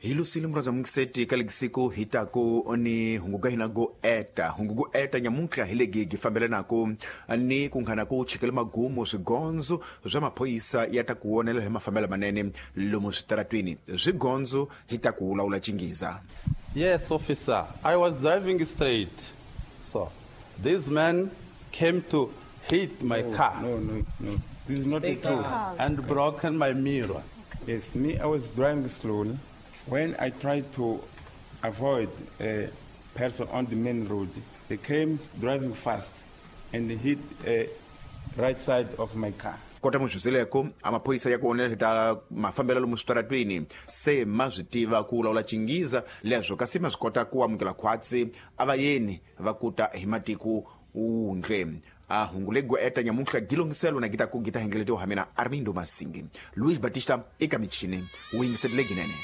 Hi lusile murhandza mungiseti ka legisiku hi taku ni hungu ga hina go eta. Hungu go eta nyamuntlha hi legi gi fambelanako ni ku nghana ku chikele magumu swigondzo swa maphorisa ya ta ku wonela hi mafambelo manene lomu switaratwini. Swigondzo hi ta ku lawula Chingiza. Yes, officer. I was driving straight. So, this man came to hit my car. No, no, no. This is not Stay true. calm. And broken my mirror. Yes, me, I was driving slowly. When I tried to avoid a person on the main road, they came driving fast and hit a right side of my car. Kota muzvizeleko a maphorisa ya ku onela ta mafambelo lomu switaratwini se ma swi tiva ku lawula Chingiza leswo kasi ma swi kota ku amukela khwatsi a vayeni va kuta hi matiko wundle. A hungu lego eta nyamuntlha gilongiselo na gita ku gita hengeletiwa ha mina Armindo Masingi. Luis Batista eka michini wu yingiserile ginene.